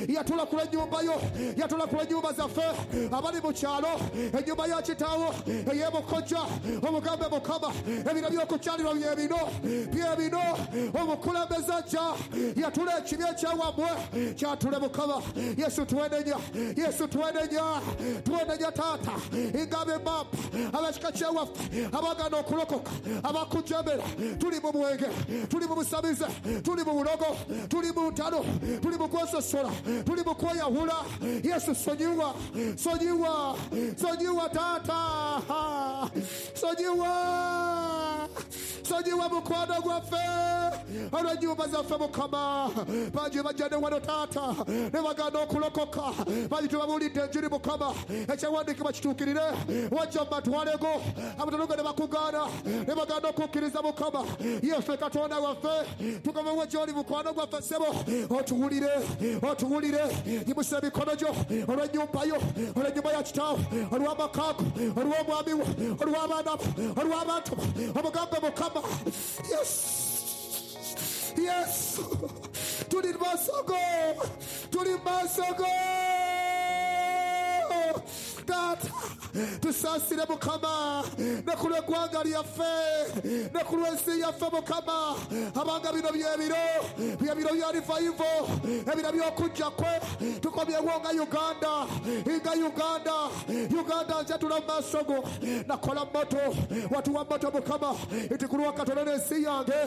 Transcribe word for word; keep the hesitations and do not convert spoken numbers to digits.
Yatula ku lw'ennyumba yo, yatula ku lw'ennyumba zaffe abali mu kyalo, ennyumba ya kitaawo ey'ebukojja. Omugambe Mukama, ebiro by'okukyalirwa bye bino, bye bino. Omukulembeze ajja, yatula ekibi ekyawammwe kyatule Mukama. Yesu twenenya, Yesu twenenya, twenenya taata. Ingabe map abakika kyewaffe abagaana okulokoka, abakujemera, tuli mu mwenge, tuli mu busamize, tuli mu bulogo, tuli mu ntalo, tuli mu kwesosola, tuli mu kweyawula. Yesu sonyiwa, sonyiwa, sonyiwa taata, sonyiwa, sonyiwa mukwano gwaffe olw'ennyumba zaffe Mukama. Bangi bajja ne wano taata ne bagaana okulokoka, bangi tebabuulidde enjiri Mukama. Ekyawandiikibwa kituukirire, wajja mu matwalego abatalogo ne bakugaana ne bagaana okukkiriza Mukama. Yeffe Katonda waffe, tukomewo gy'oli mukwano gwaffe ssebo, otuwulire, otuwulire. Yimusa emikono gyo olw'ennyumba yo, olw'ennyumba ya kitaawo, olw'amaka go, olw'omwami wo, olw'abaana bo, olw'abantu bo. Omugambe Mukama, yes, yes, tuli mu maaso go, tuli mu maaso go taata. Tusaasire Mukama ne ku lw'eggwanga lyaffe ne ku lw'ensi yaffe Mukama. Abanga bino byebiro, byebiro bya revival, ebiro by'okujja kwe. Tukomyewo nga Uganda, nga Uganda, Uganda njatula mu maaso go. Nakola moto, watuwa moto Mukama, nti ku lwa Katonda n'ensi yange.